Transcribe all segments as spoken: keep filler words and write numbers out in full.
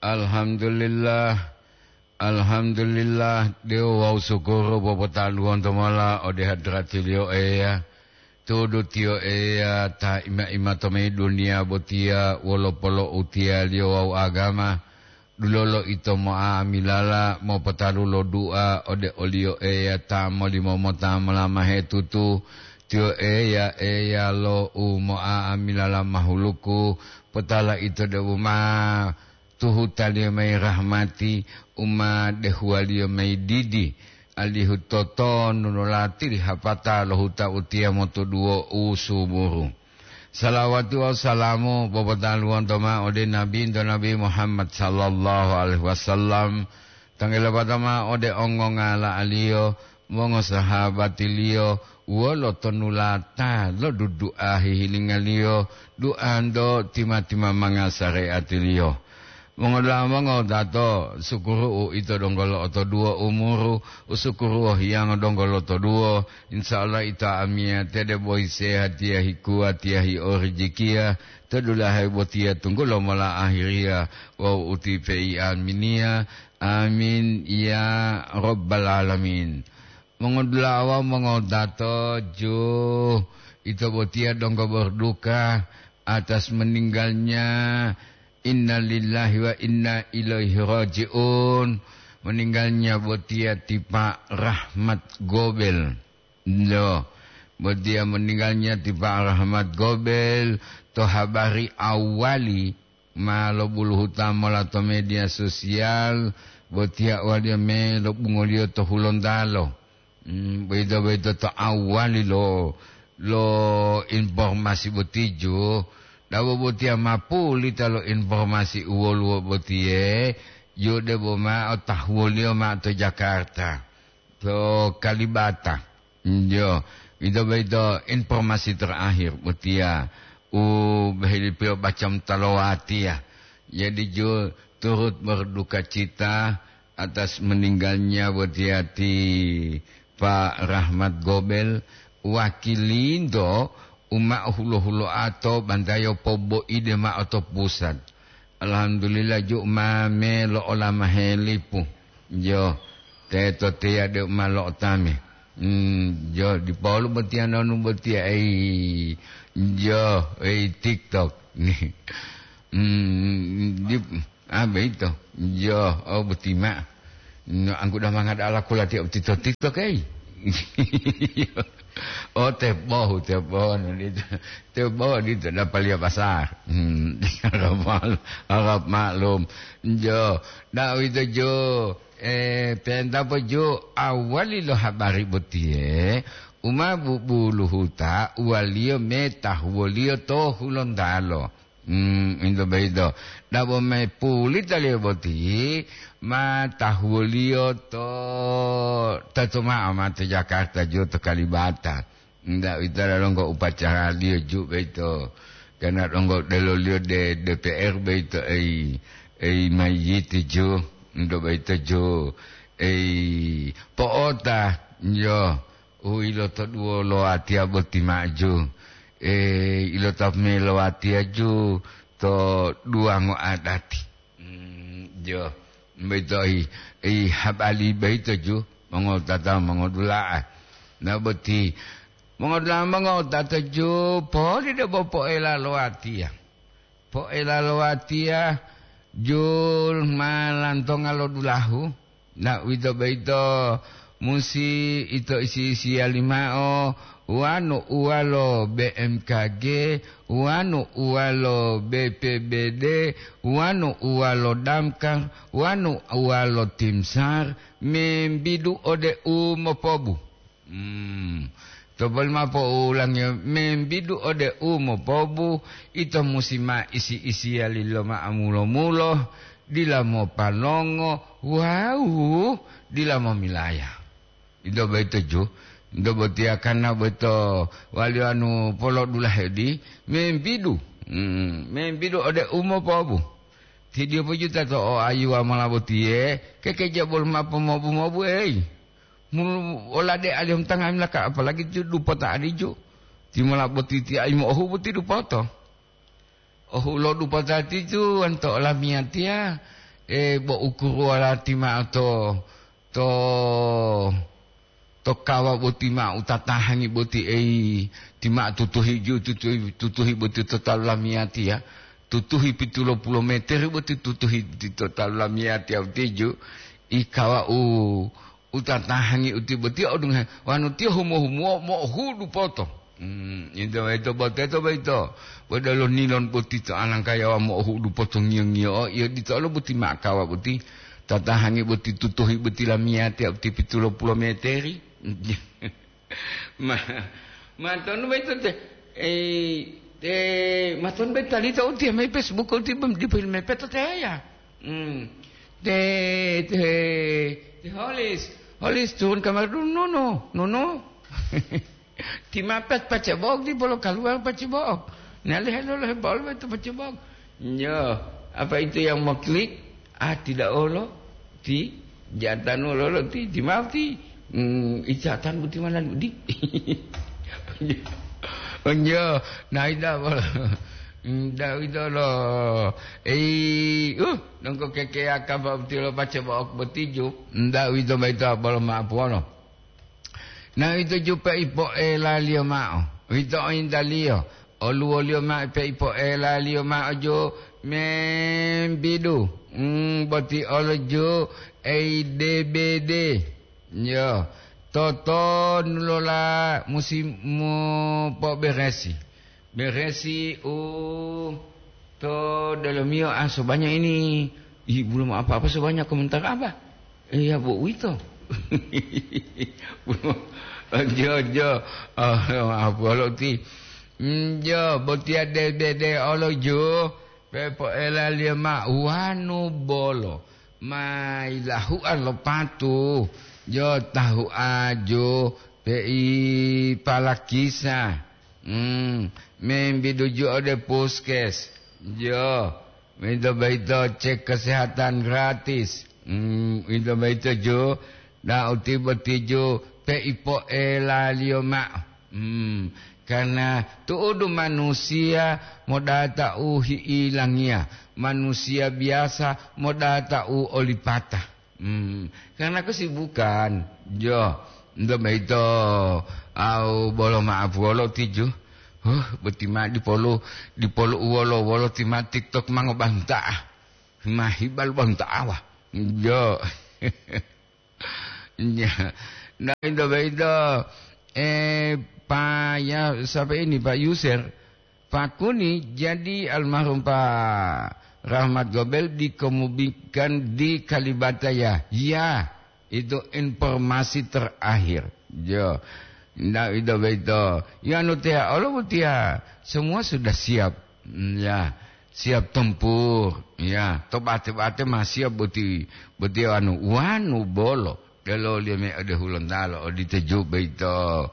Alhamdulillah, alhamdulillah, dewo wawu sukuru popotaluwonto mola ode hadratiliyo Eya. Tudu tiyo Eya ta ima-ima to mayi duniya botiya wolo polo'utiyaliyo wawu agama, dulolo ito mo'amilala mopotalu lo du'a ode oliyo Eya ta molimomota molamahe tutu. Tiyo Eya, Eya lo u mo'amilala mahuluku, potala ito deu ma tuhutaliyo mayi rahmati, u ma dehuwaliyo mayi didi, alihu totonu lo latiri hapata lo huta utiya motoduwo u suburu. Salawati wawu salamu popotaluwonto mao ode Nabinto Nabi Muhammad sallallahu alaihi wasallam, tanggilopata mao ode ongongala'aliyo, mongosahabatiliyo, wolo tonulata lo dudu'a hihilingaliyo, du'anto tima-timamanga sare'atiliyo. Mongodula'a mongotato, sukuru'u ito donggo lo'otoduwo umuru, usukuruwo hiyango donggo lotoduwo, insya Allah ito amiyate debo sehatiya hikuwatiya hi'orijikiya, to dulahe botiya tunggulo mola ahiriya wawu utipe'i aminiya. Amin ya rabbal alamin. Mongodula'a wawu mongotato, ju, ito botiya donggo berduka atas meninggalnya, innalillahi wa inna ilaihi raji'un, meninggalnya botiya ti Pak Rahmat Gobel. Loh, botiya meninggalnya ti Pak Rahmat Gobel to habari awali ma lobuluhuta mola to media sosial, botiya waliyo me lobungoliyo to Hulontalo. Hmm, boyito-boyito to awali lo, lo informasi boti ju, dabo botiya ma pulita lo informasi u woluwo botiye, ju debo ma otahuwoliyo ma to Jakarta, to Kalibata. Njo, ito boyito informasi terakhir botiya u bohelipiyo baca mutalowatiya. Jadi ju turut berduka cita atas meninggalnya botiya ti Pak Rahmat Gobel, wakilinto u ma hulo-huloa to bantayo poboide ma'o to pusat. Alhamdulillah, ju ma me lo'olamahe lipu. Jo, teto teya de ma lo'otame. Hmm, jo, dipolu botiya nonu botiya, ei, jo, ei, TikTok. Hmm, di, ah, beito. Jo, oh, boti ma. No, angkuda mangada ala kula tiya uti to TikTok, ei. Oh, tebohu, tebohu, no, di, tebohu, di, dapaliya pasar. Hmm, harap mal-, harap maklum. Jo, na uwito jo, eh, penta po jo awali lo habari botiye, uma bubuluhuta, uwaliyo metahuwoliyo to Hulontalo. Hmm, into boyito. Dabo mayi pulitaliyo boti, ma tahuwoliyo to, teto ma'o ma to Jakarta ju to Kalibata. Nda uwitolo donggo upacaraliyo ju boyito. Karna donggo deloliyo de D P R boyito, ei, ei mayiti ju, into boyito ju, ei po'ota, yo. U ilotoduwo lo watiya boti ma'o ju, e, ilotapu mayi lo watiya ju to duwango adati. Mm, jo, boyito i, i habari boyito ju, mongowutata mongodula'a. Na boti, mongodula'a mongowutata ju, poli debo poela lo watiya. Poela lo watiya, jul ma lantonga lo dulahu, na uwito boyito musi ito isi-isiyali ma'o, wanu uwalo B M K G, wanu uwalo B P B D, wanu uwalo Damkar, wanu uwalo Timsar, membidu ode u mopobu. Hmm. To boli mao po'ulangiyo, membidu ode u mopobu, ito musi ma isi-isiyali lo ma'o mulo-mulo, dila mopanongo wawu dila momilaya. Ito boyito ju, ito botiya karna boyito waliyo anu polodulahe di, membidu, hmm, membidu ode u mopobu. Tidiyo pojuta to o ayuwa mola botiye, kekeja bolo mao pomobu-mobu, ei. Mulu olade alihu tangami laka, apalagi ti dupota adiju. Timola boti ti aimo ohu boti dupoto. Ohu lo dupota titu wanto olamiyatiya, E, bo ukuruwala ti ma'o to, to, to kawa boti ma'o u tatahangi boti, ei, ti ma'o tutuhi ju-, tutuhi, tutuhi boti to talu lamiyatiya, tutuhi pitulo pulo meteri boti tutuhi ti to talu lamiyatiya utiju, i kawa u, u tatahangi uti boti odungohe, wanu tiyo humo-humuwo mo'ohudu poto. Hmm, ito boyito, boteto boyito. Bo delo nilon boti to alangkayawa mo'ohudu potongiyo-ngiyo'o, iyo ditolo boti ma'akawa boti. Tatahangi boti tutuhi boti lamiyatiya boti pitulo pulo meteri. Ma, matonu boyito te, eh, te, matonu boyito talita utiya mayi Facebook uti bem, dipo mepeto teya. Hmm. Te, te, te Holis, Holis turun kamar dulu, Nono, Nono. Ti mapet pacebok, di bolo kaluar pacebok. Nah, lihat dulu, bol betul pacebok. Yo, apa itu yang mau klik? Ah, tidak olo. Ti, jatan olo, olo, ti, ti maaf, ti. Hmm, ijatan buti mana, di? Onjo, nah, ida bolo. Ndak uwito lo, ei, uh, dongko kekeya kapa boti lo pacebok boti ju. Ndak uwito boyito bolo ma'apuwolo. Na ito ju peipo'elaliyo ma'o, uwito oyintaliyo, oluwoliyo ma'o peipo'elaliyo ma'o ju membidu, mm, boti olo ju eidebede. Yo, totonulola musi mopoberesi. Beresi u to delomiyo, ah, sobanya ini, ih, belum apa-apa sobanya komentar apa? Iya, bo uwito. Jo, jo. Oh, maaf, bolo ti. Mm, jo, botiya de, de, de, olo jo. Pepoelaliyo ma wanu bolo. Ma ilahua lo patu. Jo, tahu ajo. Pei palakisa. Hmm, membiduju ode puskes. Jo, minto boyito cek kesehatan gratis. Hmm, minto boyito ju, na uti boti ju peipoelaliyo ma'o. Hmm, karena tu'udu manusiya modata u hi'ilangiya, manusiya biyasa modata u olipata. Hmm, karena kesibukan, jo, nto boyito, au bolo ma'apuwolo tiju. Huh, boti ma dipolu, dipolu uwolo-wolo ti ma TikTok ma ngobanta'a. Ma hibal banta'a wah. Jo. Ya. Nah, nto boyito, eh, Pak, ya, siapa ini, Pak Yusir? Pak Kuni, jadi almarhum Pak Rahmat Gobel dikemudikan di Kalibata ya? Ya, itu informasi terakhir. Jo. Ndak ito boyito. Ya, anu teya olo botiya, semua sudah siap. Mm, ya, siap tempur. Ya, to bate-bate ma siap boti, boti anu, wanu bolo. Deloliyo me ode Hulontalo, odito ju boyito.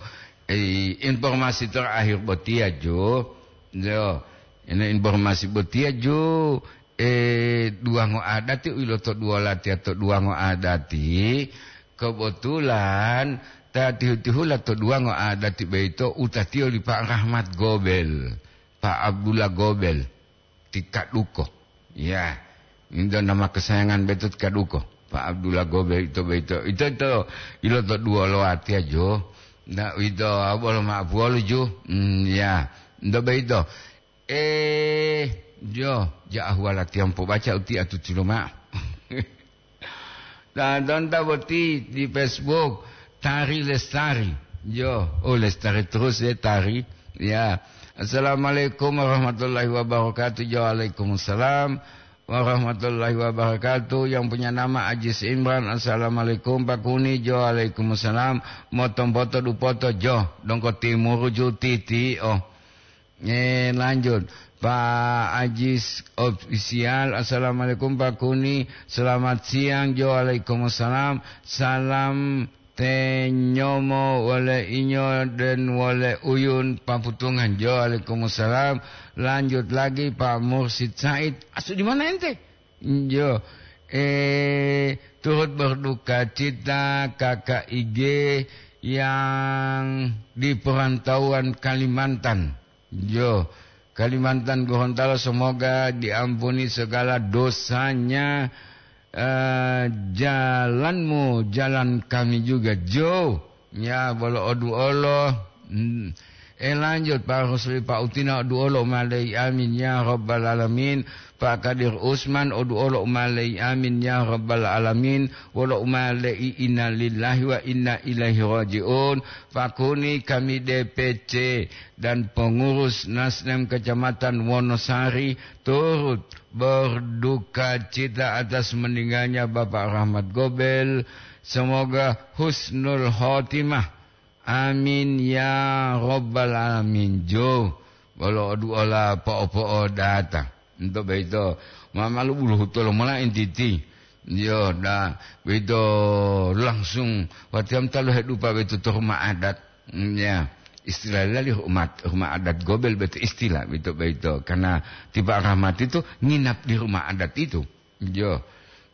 Eh, informasi terakhir botiya ju. Yo, ini informasi botiya ju, eh, duwango adati u ilotoduwola tiya to duwango adati. Kebetulan ta tihu-tihula to duwango adati boyito utatiyo li Pak Rahmat Gobel, Pak Abdullah Gobel. Ti Kaduko. Ya, into nama kesayangan beto ti Kaduko. Pak Abdullah Gobe ito boyito. Ito, ito, ilotoduwolo watiya jo. Ndak uwito, bolo ma'apuwolo ju. Hmm, ya. Nto boyito. Eh, jo, ja ahuwala tiyampo baca uti atutulo ma'o. Nah, tonta boti di Facebook, Tari Lestari. Yo, oh, lestari terus ya, Tari. Ya. Assalamualaikum warahmatullahi wabarakatuh. Yo, waalaikumsalam warahmatullahi wabarakatuh. Yang punya nama Ajis Imran. Assalamualaikum, Pak Kuni. Yo, waalaikumsalam. Motompoto dupoto, jo. Dongko timuru ju titi, oh. Eh, lanjut. Pak Ajis Official, "Assalamualaikum, Pak Kuni. Selamat siang." Jo, waalaikumsalam. Salam tenyomo wole inyo dan wole uyun paputungan. Jo, waalaikumsalam. Lanjut lagi, Pak Mursid Said. Asu di mana ente? Jo, eh, turut berduka cita K K I G yang di perantauan Kalimantan. Jo, Kalimantan Gorontalo, semoga diampuni segala dosanya. eh, jalanmu, jalan kami juga, Jo. Ya, bolo oduolo. Hmm. Eh, lanjut, Pak Rusli, Pak Utina, oduolo umalei, amin, ya Rabbal Alamin. Pak Kadir Usman, oduolo umalei, amin, ya Rabbal Alamin. Wolo umalei, innalillahi wa inna ilaihi raji'un. Pak Kuni, kami D P C dan pengurus Nasdem Kecamatan Wonosari turut berduka cita atas meninggalnya Bapak Rahmat Gobel. Semoga husnul khotimah. Amin ya Rabbal Alamin. Jo, bolo oduola po'o-po'o data. Ento boyito, ma-, malu buluhuto lomola entiti. Yo, da, boyito langsung, watiya mota lohedupa boyito to rumah adat. Mm, ya. Istilah lali rumah, rumah adat Gobel boyito istilah boyito, boyito. Karena ti Pak Rahmat itu nginap di rumah adat itu. Yo.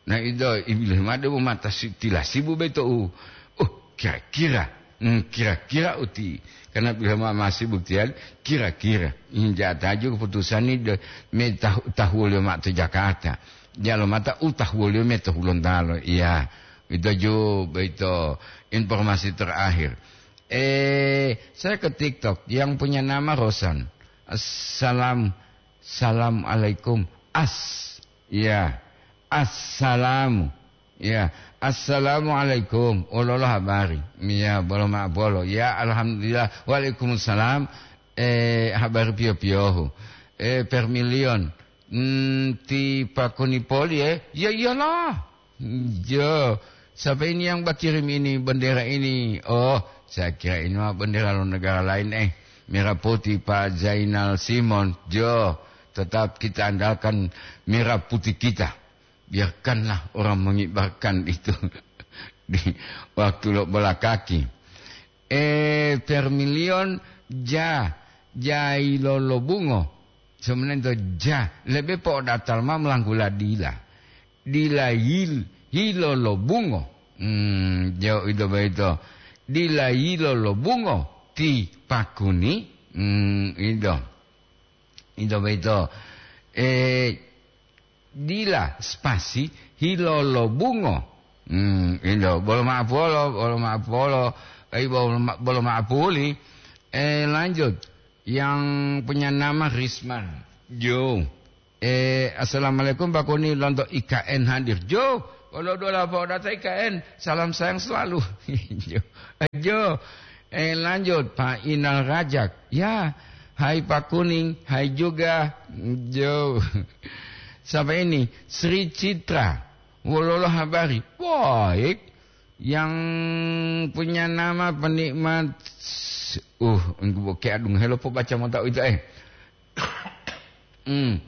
Nah, ito, ibilih made bo mata si-, tila sibu boyito u. Oh, kira-kira. Hmm, kira-kira uti. Karena bila ma-, masih buktian, kira-kira. Hmm, jataju keputusan ini de-, me tahu, tahuwoliyo ma'o to Jakarta. Jalo mata u tahuwoliyo me to Hulontalo. Iya. Ito ju, boyito informasi terakhir. Eh, saya ke TikTok yang punya nama Rosan. Assalam, salam alaikum. As, ya. Assalamu, ya. Assalamualaikum. Ololo habari. Ya, bolo ma'o bolo. Ya, alhamdulillah. Waalaikumsalam. Eh, habari piyo-piyohu. Eh, Permilion. Hmm, ti Pak Kuni poli, eh? Ya iyalah. Jo, siapa ini yang bakirim ini, bendera ini? Oh, saya kira ini mah bendera lo negara lain, eh. Merah putih, Pak Zainal Simon. Jo, tetap kita andalkan merah putih kita. Biarkanlah orang mengibarkan itu di waktu lo bola kaki. Eh, Permilion, ja, jailolobungo. Sebenarnya itu ja, lebe po'odatal ma melanggula dila. Dila yil-, yilolobungo. Hmm, jo ito boyito. Dila yilolobungo ti Pak Kuni. Hmm, ito. Ito boyito. Eh, dila spasi hilolobungo. Hmm, ito. Bolo ma'o polo, bolo ma'o polo. Eh, bolo ma-, bolo ma'o poli. Eh, lanjut. Yang punya nama Risman. Jo. Eh, assalamualaikum, Pak Kuni, lonto I K N hadir. Jo, kalau dua lapor data I K N, salam sayang selalu. Jo. Eh, Jo. Eh, lanjut, Pak Inal Rajak. Ya, hai Pak Kuning, hai juga. Jo. Siapa ini? Sri Citra. Wololo habari? Baik. Yang punya nama penikmat, uh, engku boke adung helo po baca mota itu, eh. Hmm.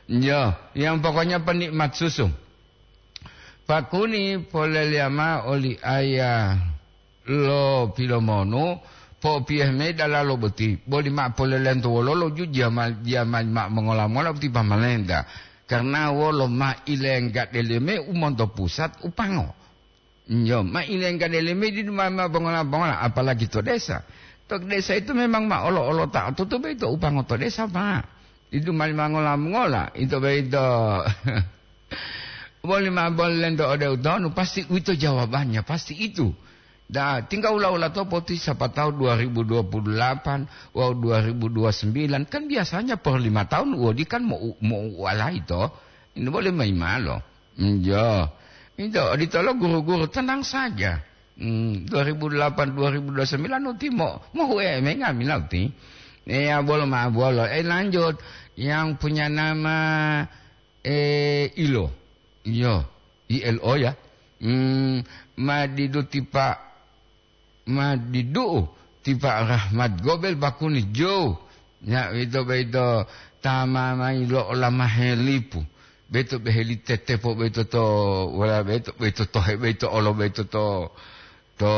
Yo, yang pokoknya penikmat susu. Pakuni poleliyama oli aya lo Pilomonu, po'opiyohe mayi dalalo boti, boli ma'o polelento wololo ju jama-, jamali ma'o mongola-mongola boti pamalenta. Karna wolo ma ilengga deleme u monto pusat u pango. Yo, ma ilengga deleme didu ma, ma bongola-bongola, apalagi to desa. To desa itu memang ma olo-olo ta tutu boyito u pango to desa, Pak. Didu mali mangola-mongola, ito boyito. Boli ma bolento ode utonu, pasti uwito jawabannya, pasti itu. Da, tinggal ula-ula to poti siapa tahu dua ribu dua puluh delapan, wau dua ribu dua puluh sembilan, kan biasanya per lima tahun wodi kan mau, mau walai to. Ini boleh maimalo. Iya. Itu, ditolong guru-guru, tenang saja. Hmm, dua ribu delapan, dua ribu dua puluh sembilan uti mo, mo hu'e mengamila uti. Iya, bolo ma, bolo. Eh, lanjut. Yang punya nama, eh, Ilo. Iya, I L O ya. Hmm, ma didu tipa ma didu'u ti Pak Rahmat Gobel bakuni jou. Nya uwito boyito ta ma mayi lo olama helipu. Boyito boheli tetepo boyito to, wala boyito, boyito tohe boyito olo boyito to, to,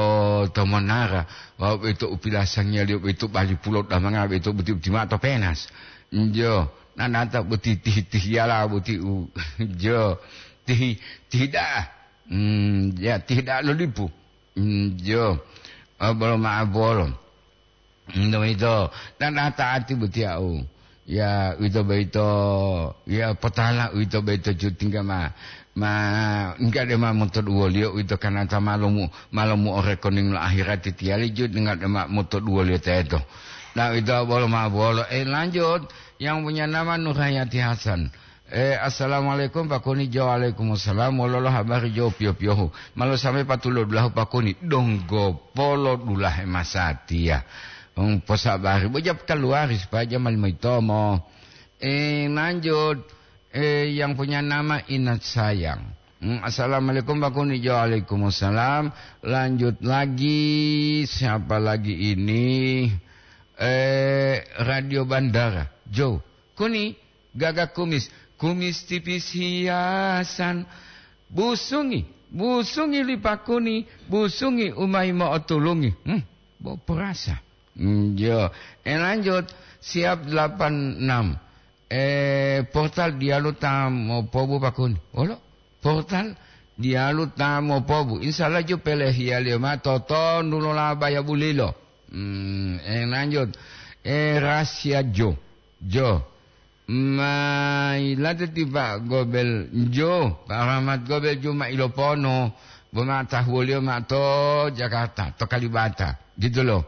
to monara. Wawu boyito u pilasangiyaliyo boyito bali pulo damanga boyito buti-buti ma'o to penas. Njo, nanata buti tihi-tihiyala buti u, njo, tihi, tihi da'a. Hmm, ya, tihi da'a lo lipu. Hmm, jo. Oh, bolo ma'o bolo. Hmm, uwito. Dan ata'ati boti au. Ya, uwito boyito. Ya, potala uwito boyito cutingga ma. Ma, enggak de ma motoduwoliyo uwito kanata malomu, malomu o rekening lo ahirati tiyali ju enggak de ma motoduwoliyo teto. Nah, uwito bolo ma bolo. Eh, lanjut. Yang punya nama Nurhayati Hasan. Eh, assalamualaikum, Pak Kuni. Jo, waalaikumsalam. Wololo habari jo piyo-piyohu? Malo sampai patulo dulahu, Pak Kuni. Donggo polo dulahe masatiya. Hmm, posabari. Bojap kaluari supaya jamal maitomo. Eh, lanjut. Eh, yang punya nama Inat Sayang. Hmm, assalamualaikum, Pak Kuni. Jo, waalaikumsalam. Lanjut lagi. Siapa lagi ini? Eh, Radio Bandara. Jo. Kuni, gaga kumis. Kumis tipis hiasan. Busungi. Busungi li Pak Kuni. Busungi umai mo'otulungi. Hmm, bo perasa. Hmm, jo. Eh, lanjut. Siap delapan enam. Eh, portal diyalu ta mopobu, Pak Kuni. Olo? Portal diyalu ta mopobu. Insya Allah ju pelehiyaliyo ma totondu lo labaya bulilo. Hmm, eh, lanjut. Eh, rahasia jo. Jo. Mailate ti Pak Gobel jo. Pak Rahmat Gobel ju ma ilopono. Bo ma tahuwoliyo ma to Jakarta, to Kalibata. Gitu loh.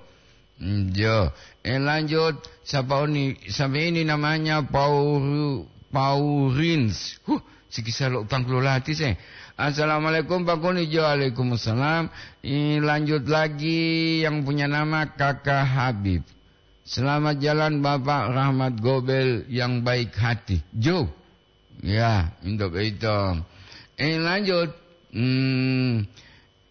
Hmm, jo. Eh, lanjut. Siapa oni? Siapa ini namanya? Pauru-, Paurins. Huh, sikisa lo utang kulo lati se. Assalamualaikum, Pak Kuni. Jo, waalaikumsalam. Eh, lanjut lagi yang punya nama Kakak Habib. Selamat jalan, Bapak Rahmat Gobel yang baik hati. Jo. Ya, untuk itu. Eh, lanjut. Hmm,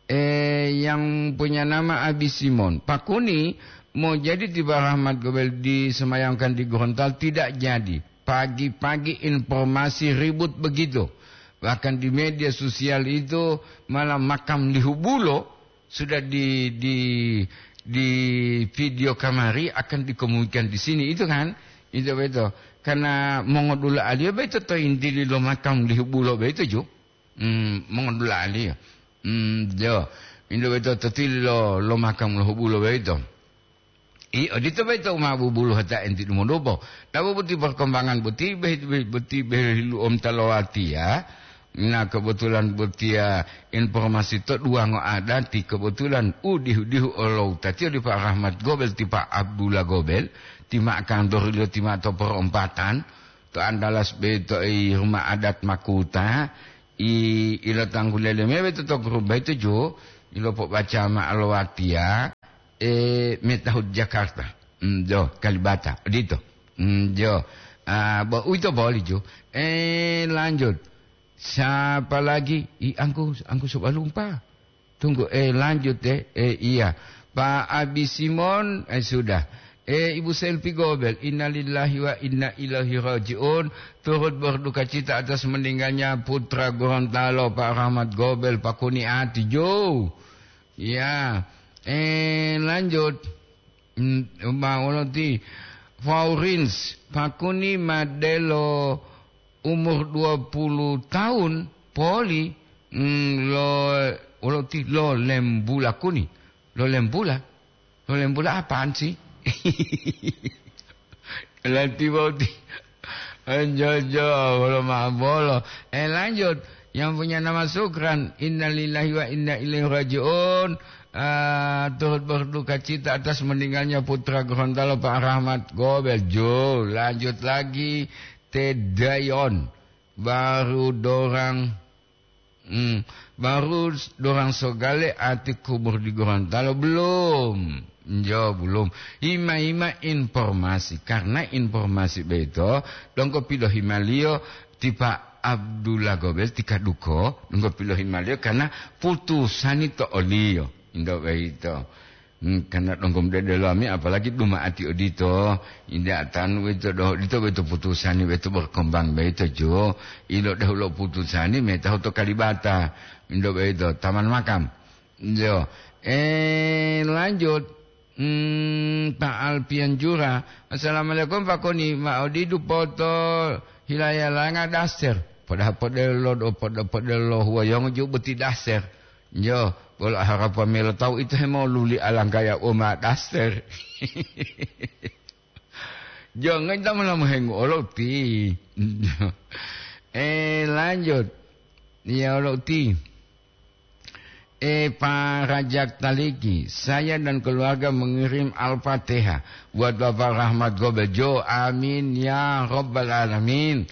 eh, yang punya nama Abi Simon. Pak Kuni, mau jadi tiba Rahmat Gobel disemayamkan di Gorontalo? Tidak jadi. Pagi-pagi informasi ribut begitu. Bahkan di media sosial itu malah makam Lihubulo sudah di, di, di video kamari akan dikemumikan di sini. Itu kan? Itu betul. Karena mongodula alia betul to intili lo makam Lihubulo betul ju. Hmm, mongodula'aliyo. Hmm, jo. Indu boyito to tili lo, lo makam lo hubulo boyito. I, odito boyito u ma bubuluhata enti dumodupo. Tabu boti perkembangan boti, be-, be-, boti behilu'om ta lowatiya. Na kebetulan botiya informasi to duwango adati, kebetulan u dihu-dihu olowutatiyo li Pak Rahmat Gobel, ti Pak Abdullah Gobel, ti ma kantoriliyo ti ma to perompatan, to Andalas boyito i rumah adat Makuta, I, ilotanggu lele mayi boyito to grup boyito ju, ilopobaca mao lo watiya, e, metahu Jakarta. Mm, jo, Kalibata, odito. Mm, jo. Ah, bo, uwito boli ju. Eh, lanjut. Siapa lagi? I, angku, angku Sobalumpa. Tunggu, eh, lanjut, eh. Eh, iya. Pak Abi Simon, eh, sudah. Eh, Ibu Selvi Gobel, innalillahi wa inna ilaihi raji'un. Turut berduka cita atas meninggalnya putra Gorontalo, Pak Rahmat Gobel, Pak Kuni Ati, Jo. Ya. Eh, lanjut. Hmm, ma wolo ti Faurins, Pak Kuni ma delo umur dua puluh tahun poli, mm, lo, wolo ti lo lembula Kuni. Lo lembula? Lo lembula apaan sih? Lanti bauti. Anjojo, bolo ma'abolo. Eh, lanjut. Yang punya nama Sukran. Innalillahi wa inna ilaihi raji'un. Ah, turut berduka cita atas meninggalnya putra Gorontalo, Pak Rahmat Gobel. Jo, lanjut lagi. Tedayon. Baru dorang, hmm, baru s-, dorang sogale ati kubur di Gorontalo. Belum. Jo, belum. Ima-ima informasi. Karena informasi boyito, donggo pilohimaliyo ti Pak Abdullah Gobel ti Kaduko, donggo pilohimaliyo karena putusani to oliyo. Indo boyito. Hmm, karena donggo mudede lami, apalagi duma'ati odito, inda tanu boyito doh, odito boyito putusani boyito berkembang boyito, Jo. Ilo dehu lo putusani, metahu to Kalibata. Indo boyito, taman makam. Jo. Eh, lanjut. Hmm, Pak Alpian Jura. Assalamualaikum, Pak Koni. Ma odidu poto hilayalanga daster. Padahal podelo do, podo-, podelo huwayongo ju boti daster. Jo, bolo harapan melo tawu ito hemoluli alangkaya uma daster. Jo, ngai ta molamu hengu olo ti. Eh, lanjut. Ya, wolo uti. Eh, Pak Rajak Taliki, saya dan keluarga mengirim Al-Fatihah buat Bapak Rahmat Gobejo. Amin ya Rabbal Alamin.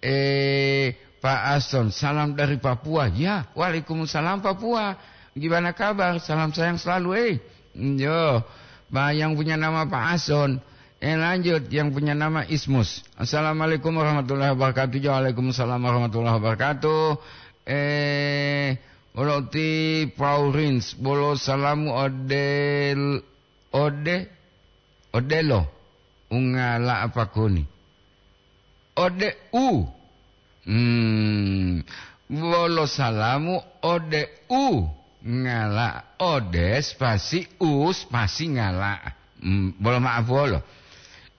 Eh, Pak Aston, salam dari Papua. Ya, waalaikumsalam Papua. Gimana kabar? Salam sayang selalu, eh. Yo, Pak yang punya nama Pak Aston. Eh, lanjut, yang punya nama Ismus. Assalamualaikum warahmatullahi wabarakatuh. Waalaikumsalam warahmatullahi wabarakatuh. Eh, wolo uti Paurins, bolo salamu odel-, ode-, odelo. Ungala apa koni? Ode u. Hmm, wolo salamu ode u. Ngala, ode spasi u spasi ngala. Hmm, bolo maaf wolo.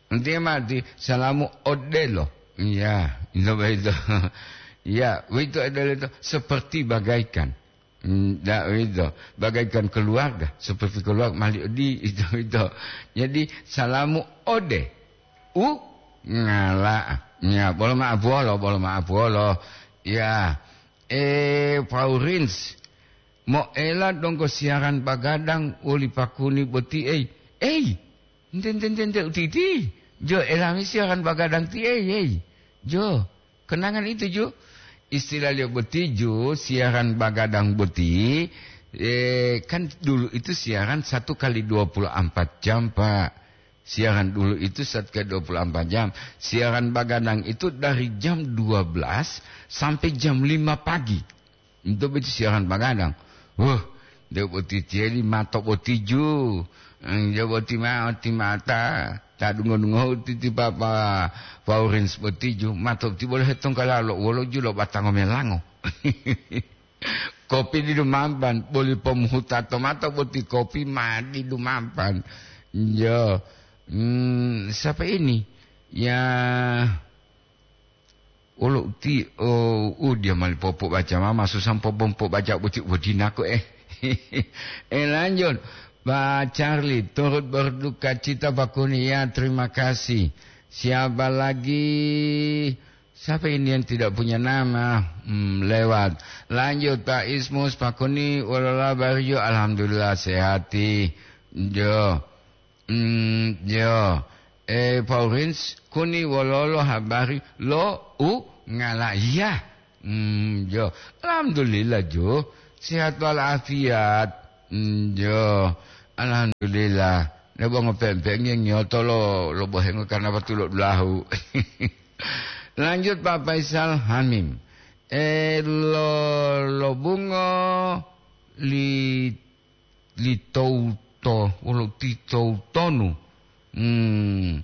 Nanti mati salamu odelo. Iya, itu begitu. Ya, itu adalah itu seperti bagaikan. Hmm, da, itu. Bagaikan keluarga, seperti keluarga mali odi, itu, itu. Jadi, salamu ode. U, ngala. Ya, bolo maaf wolo, bolo maaf wolo. Ya, eh, Paurins, moela donggo siaran bagadang woli pakuni boti, ei. Ei, ente, ente, ente, ente, utiti. Jo, elami siaran bagadang ti, ei, ei. Jo, kenangan itu, Jo. Istilahliyo boti, Jo, siaran bagadang boti, eh, kan dulu itu siaran satu kali dua puluh empat jam, Pak. Siaran dulu itu satu kali dua puluh empat jam. Siaran bagadang itu dari jam dua belas sampai jam lima pagi. Itu boti siaran bagadang. Wah, de boti tieli mato boti ju. Eng, jo boti mao ti mata. Ta dungo-dungo titi papa Paurins boti ju. Mato ti bolo hetongkala lo wolo ju lo batango melango. Kopi di dumampan, boli pomuhuta to mato boti kopi ma di dumampan. Jo. Hmm, siapa ini? Ya, Wolo uti, oh, uh, dia mali popo baca mama, susah popo baca boti, boti nako, eh. Eh, lanjut. Pak Charlie, turut berduka cita Pak Kuni, ya, terima kasih. Siapa lagi? Siapa ini yang tidak punya nama? Hmm, lewat. Lanjut, Pak Ismus, Pak Kuni, wolola bariyo, alhamdulillah, sehati. Jo. Hmm, yo. Eh, Paurins, kuni wololo habari lo u ngalaiya? Hmm, yo. Alhamdulillah, jo. Sehat walafiat. Hmm, yo. Alhamdulillah. Nebo ngopempe nge nyoto lo, lo bohengo karena batu lo dulahu. Lanjut, Pak Faisal Hamim. Eh, lo, lo bungo li li touto-, wolo ti toutonu. Hmm,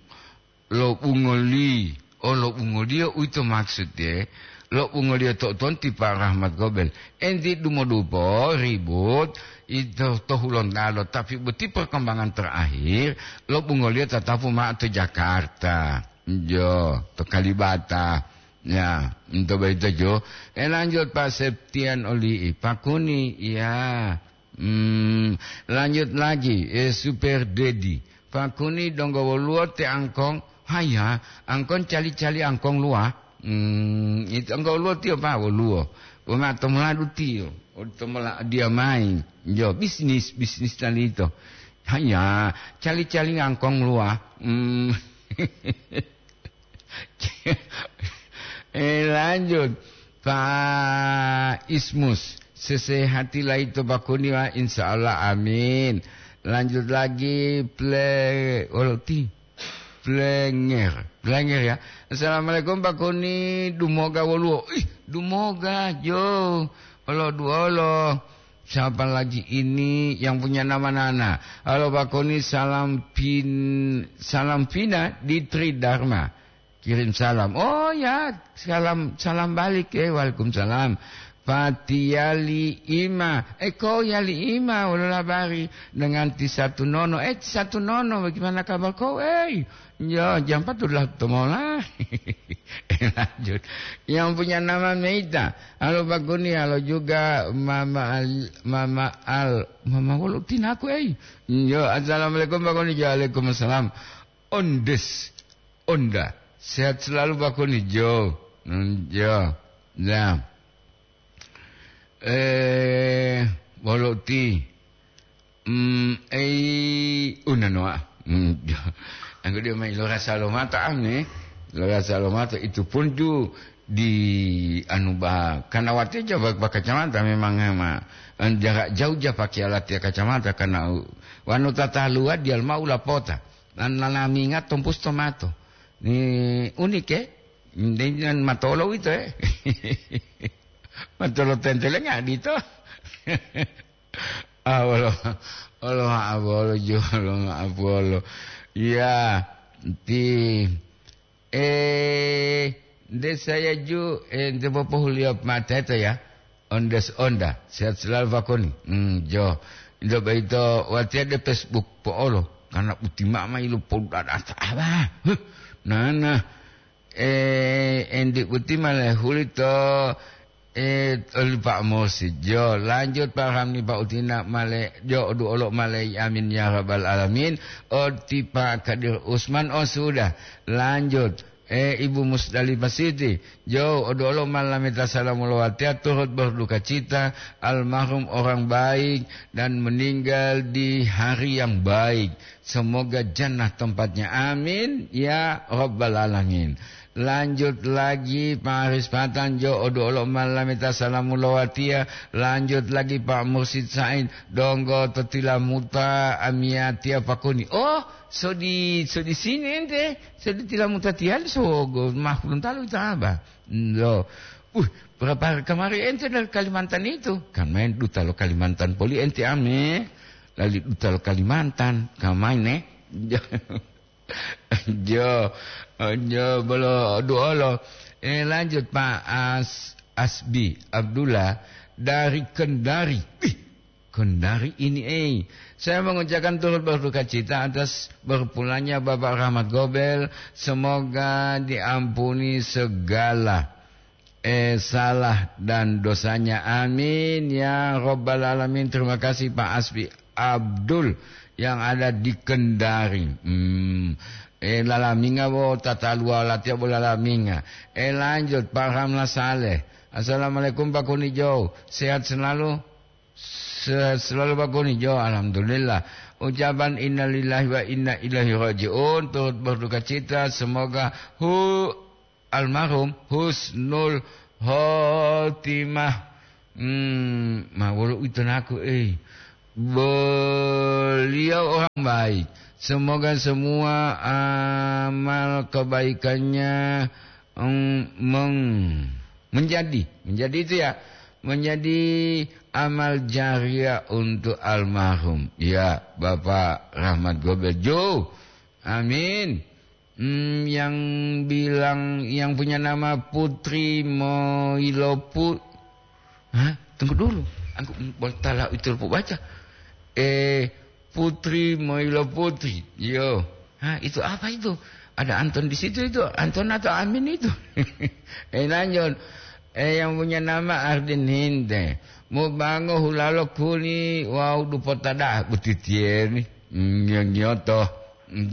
lo bungoli, oh, lo bungoliyo uwito maksud, ye. Lo bungoliyo toutonu ti Pak Rahmat Gobel. Enti dumodupo, ribut, ito to Hulontalo, tapi boti perkembangan terakhir, lo bungoliyo tatapu mao to Jakarta. Jo, to Kalibata. Ya, ento boyito jo. Eh, lanjut, Pak Septian Oli, Pak Kuni, ya. Hmm, lanjut lagi, eh, Super Dedi. Pak Kuni donggo woluwo te angkong, haya, angkong cali-cali angkong luwa. Hmm, itu angkong woluwo tiyo, Pak, woluwo. Woma tomoladu tiyo, tomola dia main. Jo, bisnis, bisnis tali ito. Haya, cali-cali angkong luwa. Hmm. Eh, lanjut. Pak Ismus, sesehati laito Pak Kuni, wa, insya Allah, amin. Lanjut lagi, ple-, olo ti, Plenger, Plenger, ya. Assalamualaikum, Pak Kuni, dumoga woluwo. Ih, dumoga, jo. Olo duolo. Siapa lagi ini yang punya nama Nana? Halo, Pak Koni, salam pin-, salam Vina di Tridharma. Kirim salam. Oh ya, salam, salam balik, eh, waalaikumsalam. Fatiyali Ima. Eh, kau Yali Ima, wolo labari dengan Tisatu Nono. Eh, Tisatu Nono, bagaimana kabar kau? Eh, ya, jam empat udah temola. Eh, lanjut. Yang punya nama Meita. Halo Pak Kuni, halo juga Mama Al-, Mama Al-, Mama wolo tinaku, ei. Yo, assalamualaikum Pak Kuni. Waalaikumsalam. Ondes, Onda. Sehat selalu Pak Kuni, jo. Hmm, jo. Ya. Eh, bolo ti. Mm, ei, unanoa. Mm, anggo dia mai lo rasa lo mata, ame. Lo rasa lo mata itu pun ju di anu ba-, karena wate ja ba-, ba kacamata memang ma, jarak jauh ja pakai alat ya kacamata karena u-, wanu tata luar dia mau lapota. Dan nanaminga tompus tomato. Ni unike, dengan matolo itu, eh. Matolo tentelenga dito. Ah, olo, olo, maaf, olo, jo, olo, maaf, olo. Ya, ti, eh, nde saya ju, eh, nde popohuliyo mate to ya. Ondes onda, sehat selalu Pak Koni. Hmm, jo. Indo baito, watiya de Facebook po'olo. Karena uti mama ilo podu ada apa? Huh, nana. Eh, endi uti male huli to, eh, oli Pak Mursid. Jo, lanjut Pak Ramli, Pak Utina male, jo, duolo male, amin ya rabbal alamin. Oti Pak Kadir Usman, oh, sudah. Lanjut. Eh, Ibu Musdalifah Siti, jo, odolo malameta salamu lowatiya turut berduka cita, almarhum orang baik dan meninggal di hari yang baik. Semoga jannah tempatnya. Amin, ya rabbal alamin. Lanjut lagi, Pak Haris Patan, jo, odolo malameta salamu lowatiya. Lanjut lagi, Pak Mursid Said, donggo to Tilamuta, amiyatiya Pak Koni. Oh, so di, so di sini ente, so di Tilamuta tiyali, sogo, mah puluntalu ita aba. Lo, uh, berapa hari kemarin ente dari Kalimantan itu? Kan main duta lo Kalimantan poli ente ame, lali duta lo Kalimantan, kan main, eh? Jo, jo, bolo duolo. Eh, lanjut, Pak As-, Asbi Abdullah dari Kendari. Ih, Kendari ini, eh. Saya mengucapkan turut berduka cita atas berpulangnya Bapak Rahmat Gobel. Semoga diampuni segala, eh, salah dan dosanya. Amin, ya rabbal alamin. Terima kasih, Pak Asbi Abdul yang ada di Kendari. Hmm. Eh, lalaminga bo tataluwa latiya bo lalaminga. Eh, lanjut, Pak Ramla Saleh. Assalamualaikum, Pak Kunijau. Sehat selalu? Sehat selalu, Pak Kunijau. Alhamdulillah. Ucapan innalillahi wa inna ilaihi raji'un turut berduka cita. Semoga hu-, almarhum husnul khotimah. Hmm, ma wolo uwito naku, eh. Beliau orang baik. Semoga semua amal kebaikannya, em, meng-, menjadi, menjadi itu ya, menjadi amal jariah untuk almarhum. Ya, Bapak Rahmat Gobel Jo. Amin. Hmm, yang bilang, yang punya nama Putri Moilopu-, hah? Tunggu dulu. Aku, mm, boleh tala itu lupa baca. Eh, Putri Moilo Putri. Yo. Hah, itu apa itu? Ada Anton di situ itu. Anton atau Amin itu? Eh, lanjut. Eh, yang punya nama Ardin Hinte. Mubango hulalo kuli wau dupotada butitieri. Nyo-, nyoto.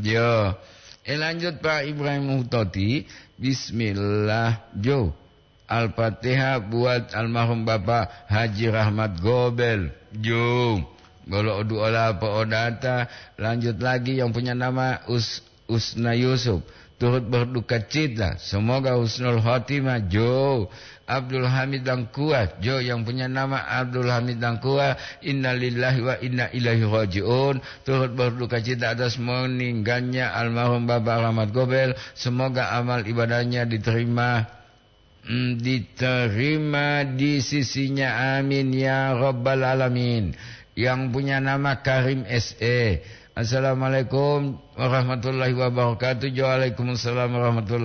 Yo. Eh, lanjut, Pak Ibrahim Hutoti. Bismillah. Jo. Al-Fatihah buat almarhum Bapak Haji Rahmat Gobel. Jo. Bolo oduola po'odata. Lanjut lagi yang punya nama Us-, Usna Yusuf. Turut berduka cita. Semoga husnul khotimah. Jo. Abdul Hamid Dangkua. Jo, yang punya nama Abdul Hamid Dangkua. Innalillahi wa inna ilaihi raji'un. Turut berduka cita atas meninggalnya almarhum Bapak Rahmat Gobel. Semoga amal ibadahnya diterima, mm, diterima di sisinya. Amin ya rabbal alamin. Yang punya nama Karim S E. Assalamualaikum warahmatullahi wabarakatuh. Waalaikumsalam warahmatullahi